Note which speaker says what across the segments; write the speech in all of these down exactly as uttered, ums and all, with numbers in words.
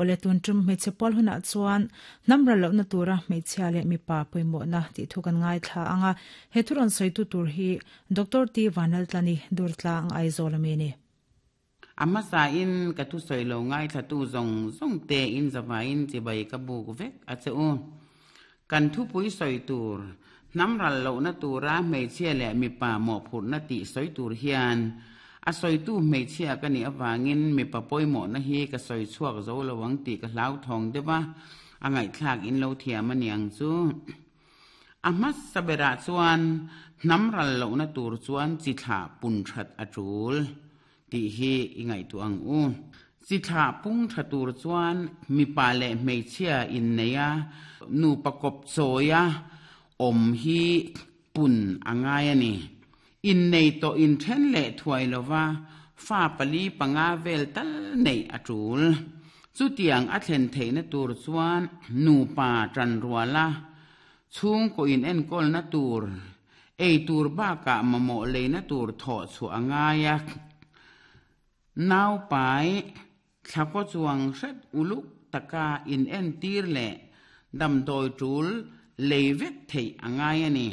Speaker 1: Ole tun tum hmeichhe pual hunah chuan hnam ral lohna tura hmeichhia leh mipa pawimawhna tih thu kan ngaithla anga he thu rawn sawitu tur hi Doctor T Vanlaltlani Durtlang Aizawl ami a ni.
Speaker 2: A hmasa in ka thusawi lo ngaithlatu zawng zawng te in zavaiin chibai ka buk vek a che u. Kan thupui sawi tur, hnam ral lohna tura hmeichhia leh mipa mawhphurhna tih sawi tur hian a sawitu hmeichhia ka nih avangin mipa pawimawhna hi ka sawi chhuak zo lo ang tih ka hlauthawng deuh a, a ngaihthlak in lo thiam a niang chu. A hmasa berah chuan hnam ral lohna tur chuan chi thlah pun that a tul tih hi i ngaihtuah ang u. Chi thlah pung tha tur chuan mipa leh hmeichhia innei a, nupa kawp chawia awm hi pun a ngai a ni. Innei tawh inthen leh thuai lova fa pali panga vel tal neih a tul. Chutiang a thlen theihna tur chuan nupa tanruala chhungkaw in enkawlna tur, ei tur bakah mamawh leina tur thawh chhuah a ngai a. Naupai thlakaw chuang hret uluk taka in entir leh damdawi tul lei vek theih a ngai a ni.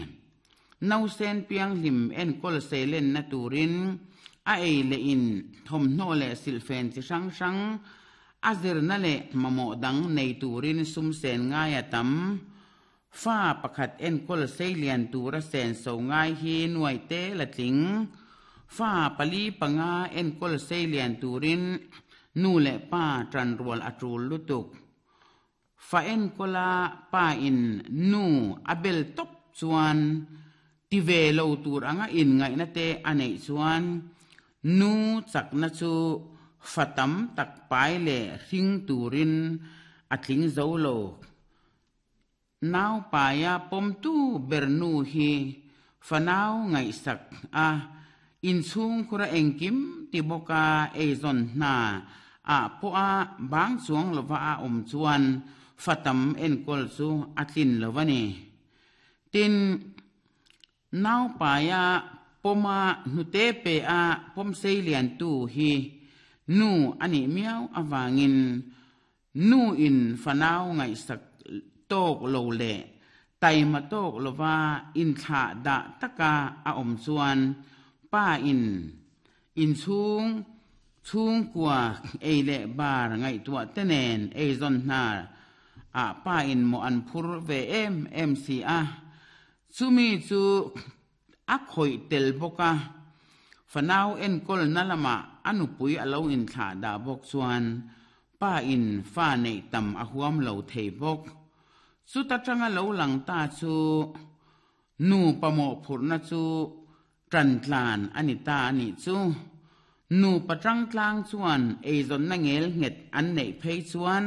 Speaker 2: Nausen pianghlim enkawl seilenna turin a ei leh in thawmhnaw leh silhfen chi hrang hrang a zirna leh mamawh dang nei turin sum sen ngai a tam. Fa pakhat enkawl seilian tura sen so ngai hi nuai te la tling. Fa pali panga enkawl seilian turin nu leh pa tanrual a tul lutuk. Fa enkawla pa in nu a bel tawp chuan ti ve lo tur anga in ngaihna te a neih chuan nu chakna chu fa tam tak pai leh hring turin a tling zo lo. Nau paia pawmtu ber nu hi fanau ngaihsak a inchhung khura engkim ti bawka eizawn hna a pawha bang chuang lova a awm chuan fa tam enkawl chu a tlin lo a ni. Tin, nau paia pawma hnute pe a pawm seilian tu hi nu a nih miau avangin nu in fanau ngaihsak tawk lo leh taima tawk lova inthlah dah taka a awm chuan pa in inchhung chhungkua ei leh bar ngaihtuah te nen eizawn hna ah pa in mawh an phur ve em em si a. Chumi chu a khawih tel bawk a, fanau enkawl na lamah a nupui a lo inthlah dah bawk chuan pa in fa neih tam a huam lo thei bawk. Chuta tanga lo lang ta chu nu pamawh phurhna chu tantlan a ni ta a nih chu. Nu patang tlang chuan eizawnna ngel nghet an neih phei chuan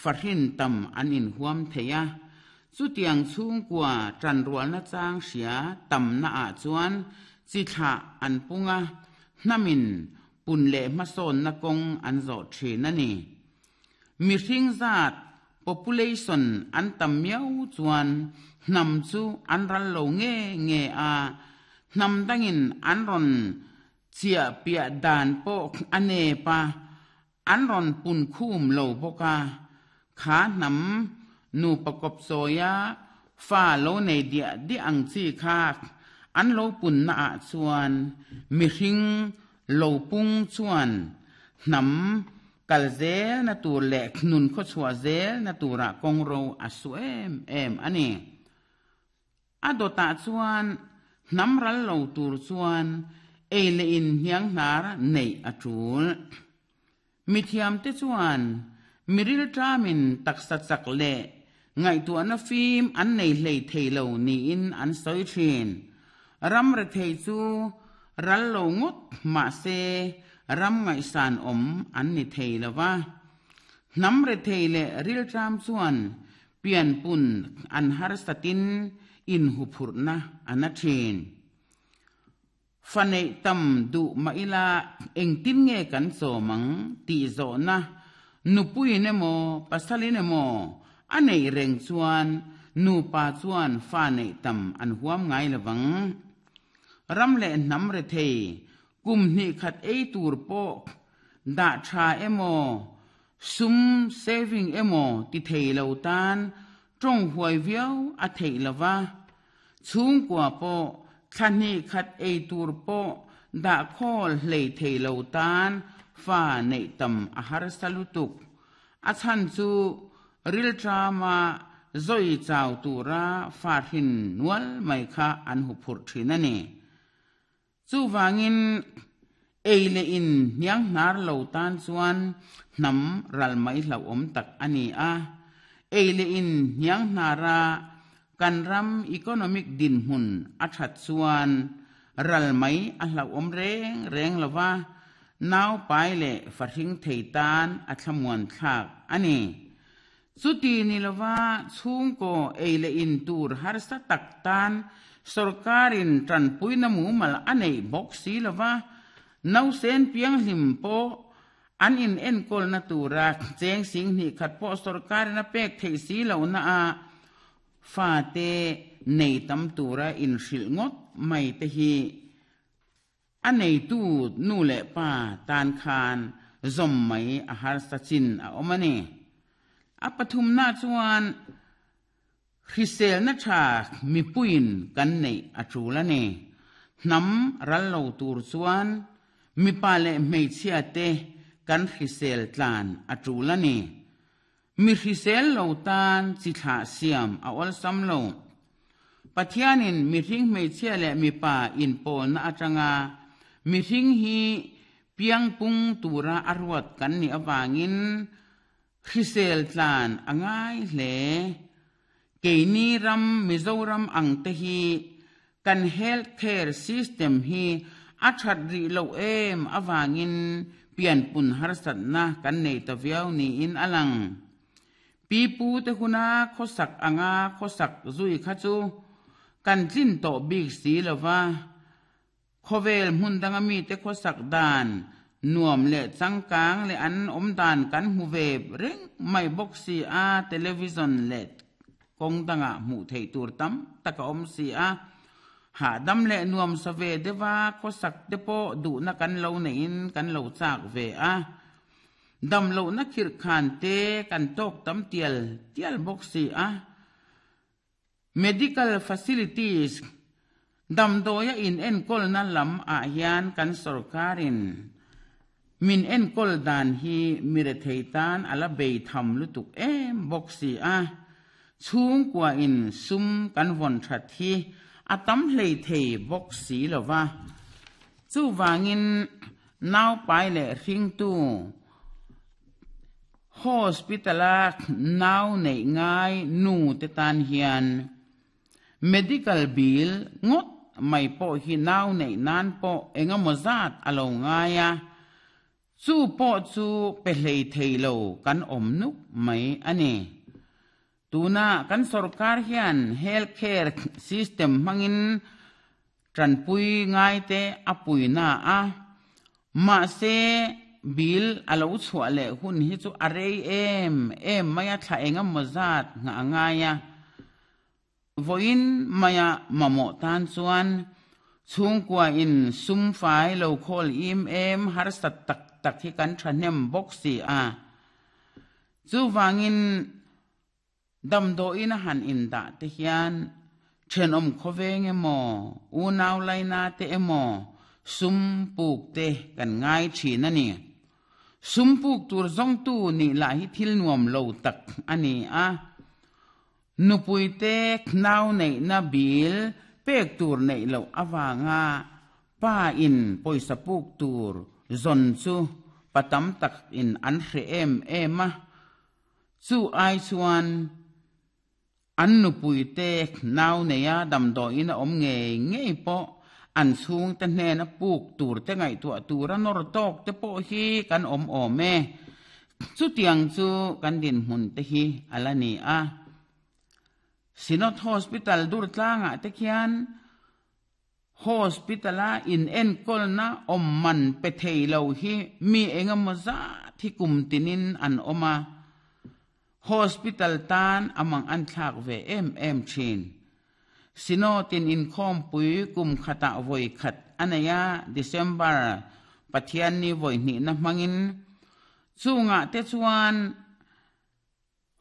Speaker 2: fahrin tam an inhuam thei a. Chutiang chhungkua tanrualna chang hria tamna ah chuan chi thlah an punga hnamin pun leh hmasawnna kawng an zawh thin a ni. Mihring zat population an tam miau chuan hnam chu an ral lo nge nge a, hnam dangin an rawn chiah piah dan pawh a nep a, an rawn pun khum lo bawk a. Kha hnam nu pakawp chawia fa lo nei diah diah ang chi kha an lo punna ah chuan mihring lo pung chuan hnam kal zel na tur leh nun khaw chhuah zel na turah kawng ro a su em em a ni. A dawtah chuan hnam ral lo tur chuan ei leh in hniang hnar neih a tul. Mithiam te chuan miril tamin taksa chak leh ngaihtuahna fim an nei hlei thei lo niin an sawi thin. Ram re thei chu ral lo ngawt mahse ram ngaihsan awm an ni thei lova. Hnam re thei leh ril tam chuan pian pun an harsatin in huphurhna an a thin. Fa neih tam duh mah ila engtin nge kan chawmang tih zawhna nupuin emaw pasalin emaw a neih reng chuan nupa chuan fa neih tam an huam ngai lovang. Ram leh hnam re thei kum hnih khat ei tur pawh dah tha emaw Sum saving emaw ti thei lo tan tawng huai viau a theih lova. Chhungkua pawh thla hnih khat ei tur pawh dah khawl hlei thei lo tan fa neih tam a harsa lutuk. A chhan chu rilṭama zawi chau tura fa hrin nual mai kha an huphurh thin a ni. Chuvangin ei leh in hniang hnar lo tan chuan hnam ral mai hlauhawm tak a ni a. Ei leh in hniang hnara kan ram economic dinhmun a that chuan ral mai a hlauhawm reng reng lova. Nau pai leh fahring thei tan a thlamuan thlak a ni. Chuti ni lova chhungkaw ei leh in tur harsa tak tan sarkarin tanpuina mumal a nei bawk si lova. Nausen pianghlim pawh an in enkawlna tura cheng sing hnih khat pawh sarkarin a pek theih si lohna a fa te nei tam tura in hrilh ngawt mai te hi a neitu nu leh pa tan khan zawm mai a harsa chin a awm a ni. A pathumna chuan hriselna tha mipuiin kan neih a tul a ni. Hnam ral lo tur chuan mipa leh hmeichhia te kan hrisel tlan a tul a ni. Mi hrisel lo tan chi thlah siam a awlsam lo. Pathianin mihring hmeichhia leh mipa inpawlna atanga mihring hi piangpung tura a ruat kan ni awangin hrisel tlan a ngai hle. Keini ram Mizoram ang te hi kan health care system hi a that rih lo em awangin pianpun harsatna kan nei ta viau niin a lang. Pi pu te huna khawsak anga khawsak zui kha chu kan tlin tawh bik si lova. Khawvel hmun danga mi te khawsak dan nuam leh changkang leh an awm dan kan hmu ve reng mai bawk si a. Television leh kawng danga hmuh theih tur tam tak a awm si a. Hahdam leh nuam sa ve deuha khawsak te pawh duhna kan lo neiin kan lo chak ve a. Dam lohna khirh khan te kan tawk tam tial tial bawk si a. Medical facilities damdawia in enkawlna lam ah hian kan sarkarin min enkawl dan hi mi rethei tan a la bei tham lutuk em bawk si a. Chhungkua in sum kan vawn that hi a tam hlei thei bawk si lova. Chuvangin nau pai leh hringtu hospitala nau neih ngai nu te tan hian medical bill ngawt mai pawh hi nau neih nan pawh engemaw zat a lo ngai a. Chu pawh chu pe hlei thei lo kan awm nuk mai a ni. Tuna kan sarkar hian health care system hmangin tanpui ngai te a puina a. Mahse bill a lo chhuah leh hun hi chu a rei em em mai a thla engemaw zat ngah ngai a. Vawiin maia mamawh tan chuan chhungkua in sum fai lo khawl im em harsa tak tak hi kan thahnem bawk si a. Chuvangin damdawiin a han in dah te hian thenawm khawveng emaw unau laina te emaw sum puk te kan ngai thin a ni. Sum puk tur zawngtu nih lah hi thil nuam lo tak a ni a. Nupui te nau neihna bil pek tur neih loh awanga pa in pawisa puk tur zawn chu patam tak in an hre em em a. Chu ai chuan an nupui te nau neia damdawiin a awm ngei ngei pawh an chhung te hnena puk tur te ngaihtuah tura nawr tawk te pawh hi kan awm awm e. Chutiang chu kan dinhmun te hi a la ni a. Synod Hospital Durtlangah te khian hospitala in enkawlna awm man pe thei lo hi mi engemaw zat hi kum tinin an awm a. Hospital tan amang an thlak ve em em thin. Synodin inkhawmpui kum khatah vawi khat a nei a. December Pathian ni vawi hnihna hmangin Chunga te chuan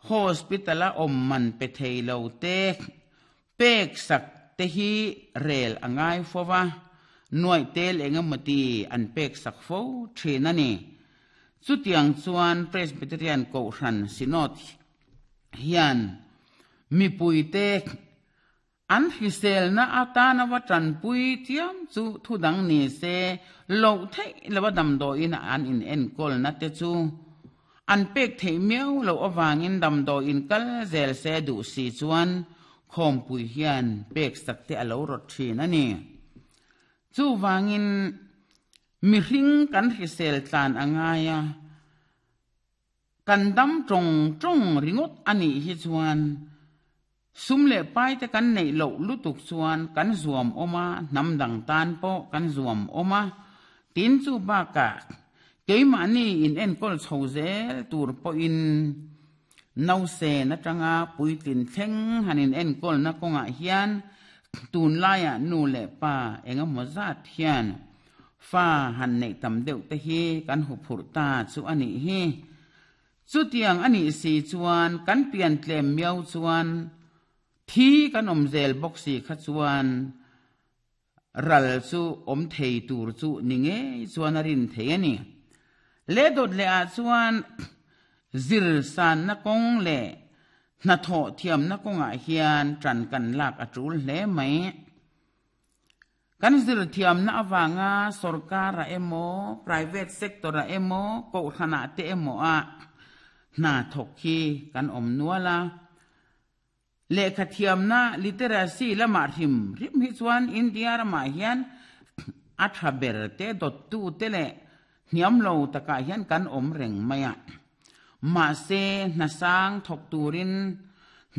Speaker 2: hospital a awm man pe thei lo te pek sak te hi rel angai fowa nuai tel engemati an pek sak fo thin ani. Chutiang chuan Presbyterian Kohhran Synod hian mipuite an hrisel na atana wa tanpui chiam chu thudang ni se lo thei lawa damdawiin an in enkawl na te chu an pek thei miau lo awangin damdawiin kal zel se duh si chuan khawmpui hian pek sak te alo rawt thin ani. Chu wangin mi hring kan hrisel tlan angaya kan dam tong tong ringot ani hi chuan sum le pai te kan nei lo lutuk chuan kan zuam oma nam dang tan po kan zuam oma tin chu ba ka keima ni in en kol chho zel tur po in nau se na tanga puitlin thleng hanin en kol na konga hian tun laia nu le pa enga mozat hian fa han nei tam deuh te hi kan hu phur ta chu ani hi. Chu tiang ani si chuan kan pian tlem miau chuan thi kan om zel bawk si kha chuan ral chu om thei tur chu ni nge chuan a rin thei ani. Le dot le a chuan zir san na kong le na tho thiam na konga hian tran kan lak a tul hle mai. Kan zir thiam na awanga sarkar a emo private sector a emo ko thana te emo a na thok hi kan om nuala. Le kha thiam na literacy lama hrim rim hi chuan India rama hian a tha ber te dot tu te le hniam lo taka hian kan om reng maya. Ma se na sang thok turin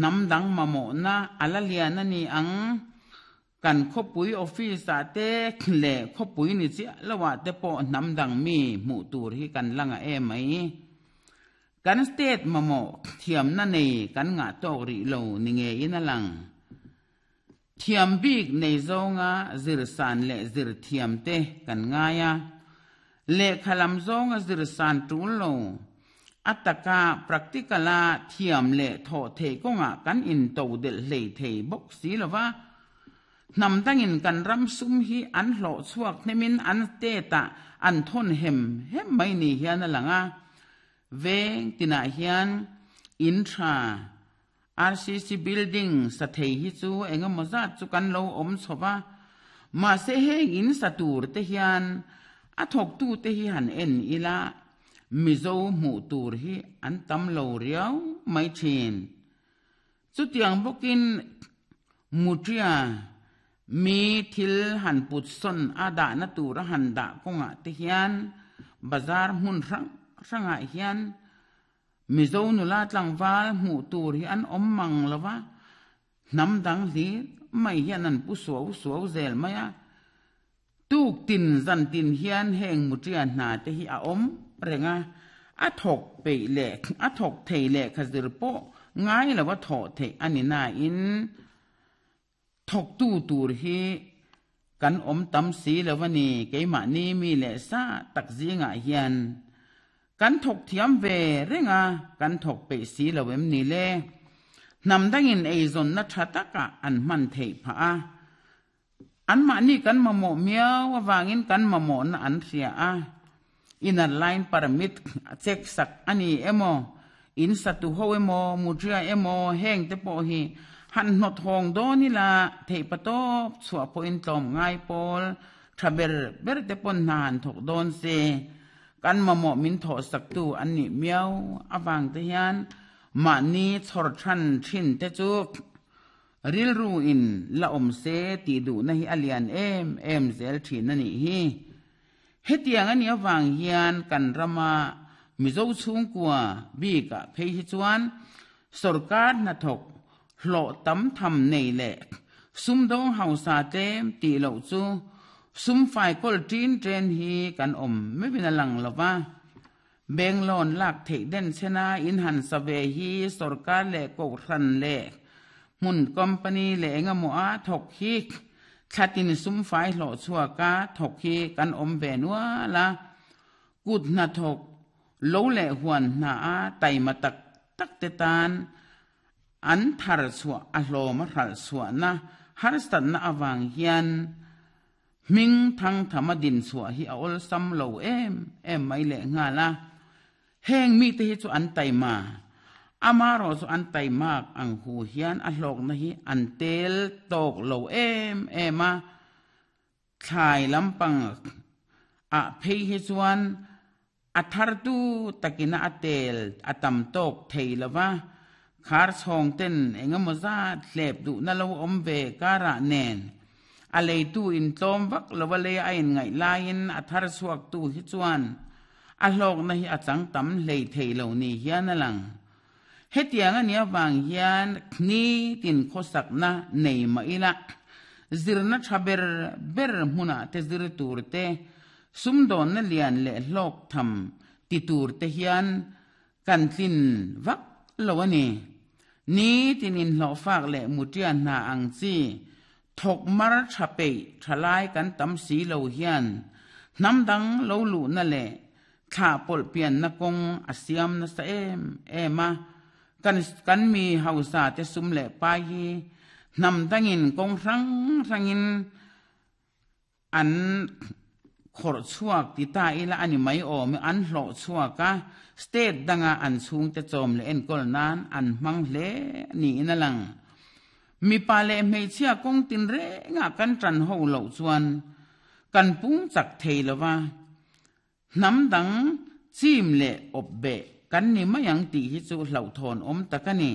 Speaker 2: nam dang mamo na ala lian ani ang kan khopui office a te le khopui ni chi lawa te po nam dang mi mu tur hi kan langa e mai. Kan state mamo thiam na nei kan nga tok ri lo ni nge in alang thiam bik nei zonga zir san le zir thiam te kan ngaya le khalam zonga zir san tul lo ataka practicala thiam le tho the konga kan in to del hlei thei bok si lova nam tangin kan ram sum hi an hlo chuak nemin an te ta an thon hem hem mai ni hian alanga veng tina hian intra R C C building sa thei hi chu engemaw zat chu kan lo om chhowa ma se heng in satur te hian a thok tu te hi han en ila mizo mu tur hi an tam lo riau mai thin. Chu tiang bokin mutria mi thil han put son ada na tur han da konga te hian bazar hmun rang ranga hian mizo nula tlangwal mu tur hi an om mang lova nam dang li mai hian an pu suau suau zel maya tuk tin zan tin hian heng mutria hna te hi a om renga a thok pe le a thok thei le khazir po ngai lawa tho thei ani na in thok tu tur hi kan om tam si lawani keima ni mi le sa tak zinga hian kan thok thiam ve renga kan thok pe si lawem ni le nam dangin eizon na thataka an man thei pha a an ma ni kan mamo miaw awangin kan mamo na an ria a inner line permit check sak ani emo in satu ho emo mutria emo heng te po hi han not hong do ni la thei patop chua po in tlom ngai pol thaber ber te pon nan thok don se kan mamo min tho sak tu an ni miaw awang te hian ma ni chor than thin te chu ril ru in la om se ti du na hi alian em em zel thin ani hi. Hetiang ani awang hian kan rama mizo chung kwa bi ka phei hi chuan sarkar na thok hlo tam tham nei le sum dong hausa tem ti lo chu sum fai kol tin tren hi kan om me bin lang lova beng lon lak thei den chena in han save hi sarkar le ko ran le mun company le nga mo a thok hi thatin sum fai hlo chua ka thok hi kan om ve nuwa la kut na thok Lo leh huan hna a taima tak tak te tan an thar chhuah a hlawm a hralh chhuahna harsatna awang hian ming thang thama din chhuah hi a awlsam lo em em mai leh nghal a. Heng mi te hi chu an taima ama ro chu an taimak ang hu hian a hlawk na hi an tel tawk lo em em a. Thlai lampang a phei hi chuan a thar tu takina a tel a tam tawk thei lova khar chhawng ten engemaw zat hlep duh na lo awm ve kara nen a leitu in tlawm vak lova lei a in ngaih laiin a thar chhuak tu hi chuan a hlawk na hi a chang tam hlei thei lo ni hian a lang. Hetiang ani awang hian ni tin khawsak na nei ma ila zirna tha ber ber hmuna te zir tur te sumdawn na lian leh hlawk tham ti tur te hian kan tlin vak lo ani. Ni tin in hlawh fak leh mutian hna ang chi thok mar tha pei thalai kan tam si lo hian hnam dang lo lu na leh thla pawlh pian na kawng a siam na sa em em a. Kan kan mi hausa te sum leh pai hi hnam dangin kawng hrang hrangin an khawrh chhuak ti ta ila ani mai awm an hlawh chhuak a. State danga an chhung te chawm leh enkawl nan an hmang hle niin a lang. Mipa leh hmeichhia kawng tin renga kan ṭan ho loh chuan kan pung chak thei lova hnam dang chim leh awp beh kan ni mai ang tih hi chu hlauhthawn awm tak a ni.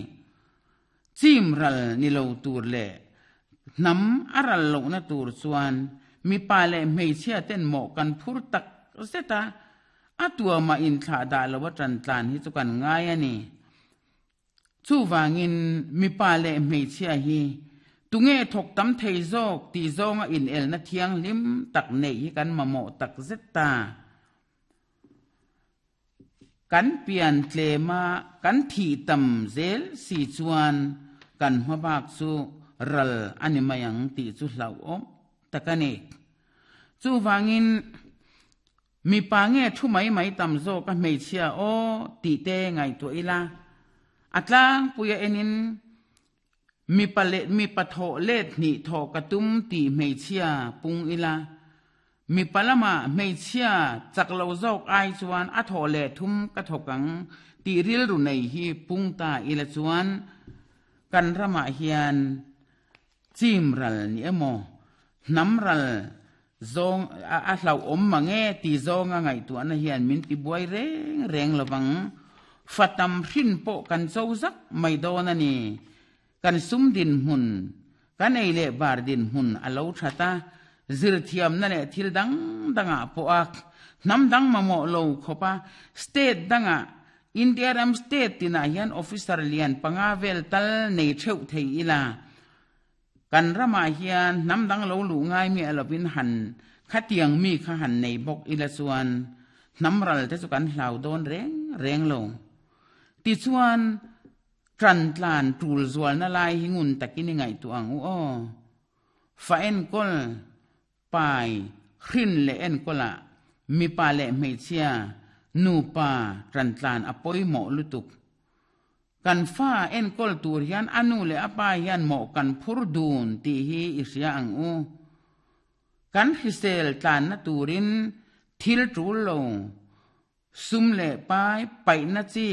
Speaker 2: Chim ral ni lo tur leh hnam a ral lohna tur chuan mipa leh hmeichhia ten mawh kan phur tak zet a. A tuama in thlah dah lo a ṭan tlan hi chu kan ngai a ni. Chuwangin mipa leh hmeichhia hi tunge thawk tam thei zawk tih zawnga in elna thiang hlim tak nei hi kan mamawh tak zet ta. Kan pian tlema kan thi tam zel si chuan kan hmabak chu ral ani mai ang tih chu hlauhawm tak a ni. Chuwangin mipa nge thu mai mai tam zawk a hmeichhia aw tih te ngaihtuah ila a tlangpuia enin mipa leh mipa thawh let hnih thawh ka tum tih hmeichhia pung ila mipa lama hmeichhia chak lo zawk ai chuan a thawh leh thum ka thawk ang tih rilru nei hi pung ta ila chuan kan ramah hian chim ral ni emaw hnam ral zawng a hlauhawm mange ti zawnga ngaihtuahna hian min ti buai reng reng lovang. Fatam hrin pawh kan cho zak mai dawn a ni. Kan sum din hmun kan ei leh bar din hmun a lo thata zir thiam na leh thil dang danga pawh a hnam dang mamawh lo khawpa state danga India ram state tinah hian officer lian panga vel tal nei theuh thei ila kan ramah hian hnam dang lo lu ngai mi alovin han khatiang mi kha han nei bawk ila chuan hnam ral te chu kan hlau dawn reng reng lo. Ti chuan ṭan tlan tul zual na lai hi ngun takin i ngaihtuah ang u aw. Fa enkawl pai hrin leh enkawla mipa leh hmeichhia nupa ṭan tlan a pawimawh lutuk. Kan fa enkawl tur hian anu leh apa hian mawh kan phur dun tih hi i hria ang u. Kan hrisel tlanna turin thil tul lo sum leh pai paihna chi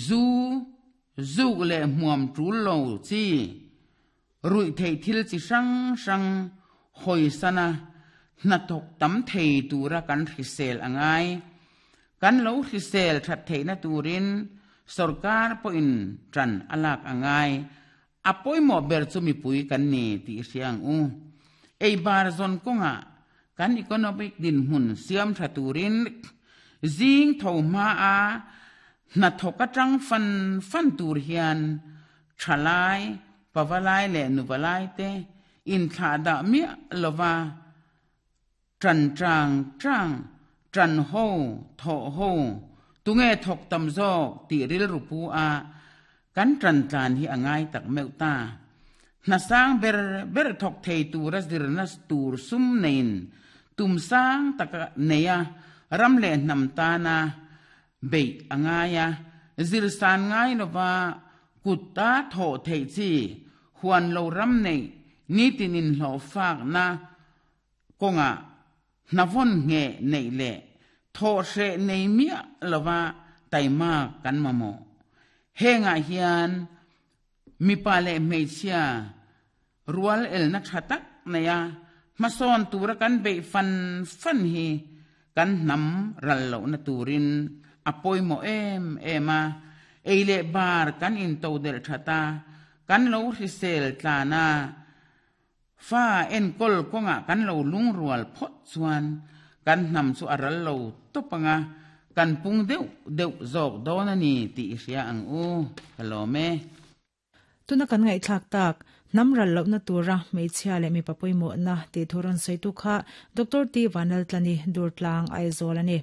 Speaker 2: zu zuk leh hmuam tul lo chi ruih thei thil chi hrang hrang hawisana hnathawk tam thei tura kan hrisel angai. Kan lo hrisel that theihna turin sarkar pawhin ṭan a lak angai. A pawimawh ber chu mipui kan ni tih hria ang u. Ei bar zawn kawnga kan economic din hmun siam tha turin zing tho hma a hnathawk atang fan fan tur hian thalai pavalai leh nuvalai te in thlah dah miah lova ṭan ṭang ṭang ṭan ho thawh ho tunge thawk tam zawk tih rilru pu a kan ṭan tlan hi a ngai tak meuh ta. Hna sang ber ber thawk thei tura zirna tur sum nein tum sang taka neia Ram le hnam tana bei angaia zir san ngai lova kutta tho thei chi huan lo ram nei ni tinin hlo fak na konga navon nge nei le tho hre nei mia lova taima kan mamo henga hian mi pa le hmeichhia rual el na thatak naya mason tura kan be fan fan hi kan nam ral lo na turin apoi mo em ema eile bar kan in to del thata kan lo hrisel tlana fa en kol konga kan lo lung rual phot chuan kan nam chu aral lo topanga kan pung deuh deuh zawk dawn ani ti hria ang u kalome.
Speaker 1: Tuna kan ngai thlak tak nam ral lo na tura hmeichhia leh mipa pawimawh na tih thu rawn sawi tu kha Doctor T Vanlaltlani Durtlang Aizawl a ni.